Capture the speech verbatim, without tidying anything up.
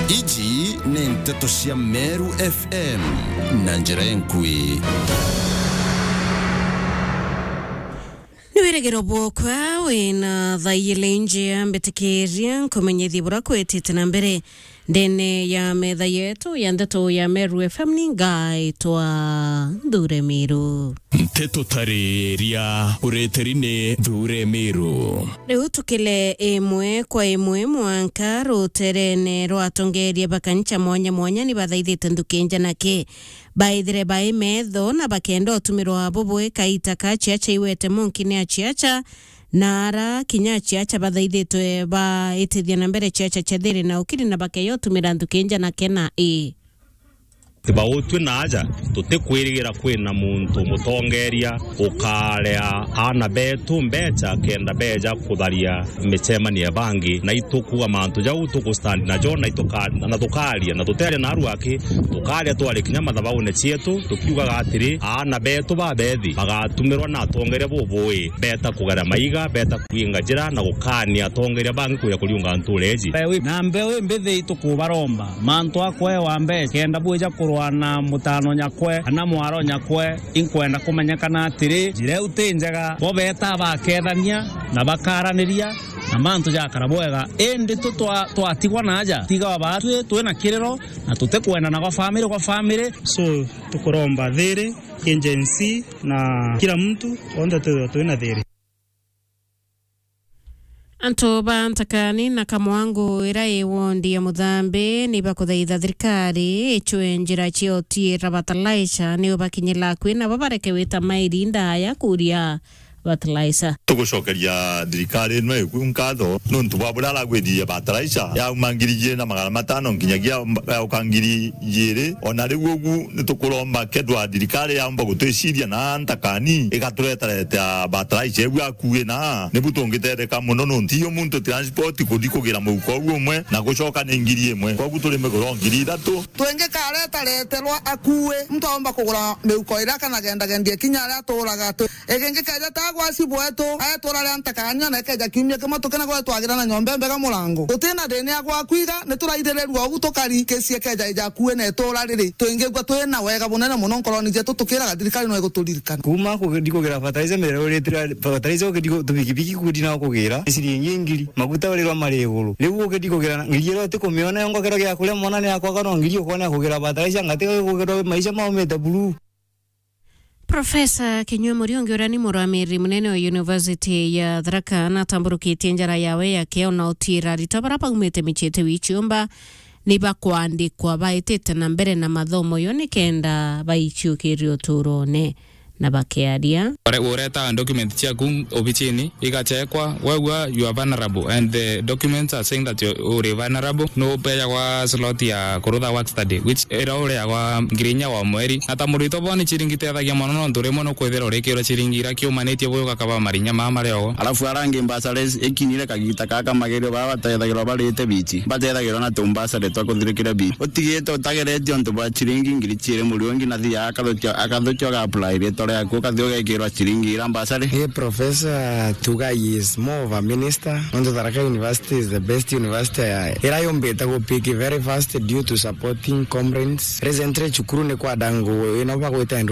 Iji ni nteto cia Meru F M na njira enkui. Ni wirigiro bwokwa wina thaa ijiri njia, mbitikiria nkumenyithie bura kwitite na mbere ndene ya metha yetu ya ndeto ya Meru F M. Ni ngaitwa Nthure Miru. Nteto tariria ureteri ni Nthure Miru. Riu tukile imwe kwa imwe mwanka ruterene rwa atongeria ba kanisa mwanya mwanya ni bathaithite nthuki njanake baithire bai metho na bakenda utumirwa bubui kaita ka ciaca iwete munki ni aciaca, na ara kinya aciaca bathaithitwe baitithia na mbere ciaca cia thiri na ukiri na bakeya utumira nthuki njanake na i. Bautwi na aja, tutikwirigira kwina muntu mutongeria ukarea aana betu mbeca kenda beja kutharia micemanio ya bangi, na itukuga mantu jau tugustand najo, na ituka-, na tukaria, na tutearia na aruaki, tukaria twari kinya mathabaune cietu, tukiugaga atiri, aana betu babethi bagatumirwa na atongeria bubui, beta kugera maiga, beta kuinga njira, na gukania atongeria bangi kuja kuriunga ntuura iji. Mbewi, na mbewi mbithi itukubaromba, mantu a kwewa mbeca, kenda bwija kurwa na mutano nyakwe, kana mwaro nyakwe, inkwenda kumenyekana atiri, njira iu ti njega, bo beta bakethania, na bakaraniria, na mantu jakara bwega. Indi tu twa-, twatigwa na aja, tiga batwi twina kiriro, na tutikwendana gwa family gwa family. So, tukuromba thiri, ki Gen Z, na kila mtu, onthe tu-, twina thiri. Antu ba Ntakani na Kamwangu ira i wondi ya Muthambi ni bakuthaitha thirikari icwe njira cia utiira fertilizer ni ubakinyira akui nabo bareke wita mairi ndaya kuria fertilizer. Tugucokeria thirikari ino iku nkatho nuntu bwa buria aragwiririe fertilizer yauma ngiri ijiri na magana matano nkinyagia yauka ngiri ijiri. Ona riu ugu nitukuromba kethwa thirikari yaumba gutwiciria na Ntakani igaturetareta fertilizer iu akui na nibu tungitetheka muno nuntu iyo muntu transport kuthi kugira muhuko uu umwe na gucoka ni ngiri imwe. Koguo turi miguro ngiri ithatu. Twingikaretereterwa akui, muntu aumba kugura mihuko iria akanagendagendia kinya aria aturaga. Twi-, igingi keja ta gwaci bwetu, aetura ria Ntakani, ona ikeja kiumia kimwe tukina gwe twagira na nyomba imbega murango. Tutina thina ya gwa kwiga, nituraithiririrua ugu tukari, kesi ikeja ija akui na itura riri, twingigua twina wega bunene muno nkoroni jetu, tukiraga thirikari no iguturirikana. Kuuma kuthi kugira fertilizer, mirero uritira fertilizer, ukithi ku-, tubikibiki kuthi na kugira, ni ciringi ngiri. Maguta urirwa mari iguru. Riu ukithi kugira na ngiri iria utikumiona yo ngokero gia kuria mwana ni akwaga no ngiri ukona kugira fertilizer, ngati kugira maisha maumite buru. Profesa Kinyua Muriungi, uria ni murugamiri munene wa University ya Tharaka, natamburukitie njara yawe yake ona utiira aritwa bara baumite micii iti wi ciumba ni bakwandikwa baitite na mbere na mathomo yo nikenda baiciukiria uturone na bakiaria. Ure-, ureta document ciaku obicini, igachekwa, wegua you are vulnerable and the documents are saying that you, uri vulnerable, nupeyagwa slot ya kurutha work study, which ira ureagwa ngiri inya wa mweri. Na ta muritwa boni chiringi itethagia mono, nontu rimwe nukwithira urikirwa chiringi ira kiumanitie bwi ugakaba marinya maa mari ogo. Alafu arangi mbasare ikinyire kagita kaka magerio baa batethagirwa barite bichi, batethagirwa na tumbasare twa kuthirikiria bichi. Utigite utageretie untu bwa chiringi ngiri chiiri Muriungi na thia akathukia, akathukia uga apply ritwa riaku, ukathi ugekirwa chiringi ira mbasare. Ii, Professor Tugai is more of a minister, nontu Tharaka University is the best university ya, ira yumbite gu pick very fast due to supporting comrades. Recently, cukuru ni kwa dangu, ino bagwita enroll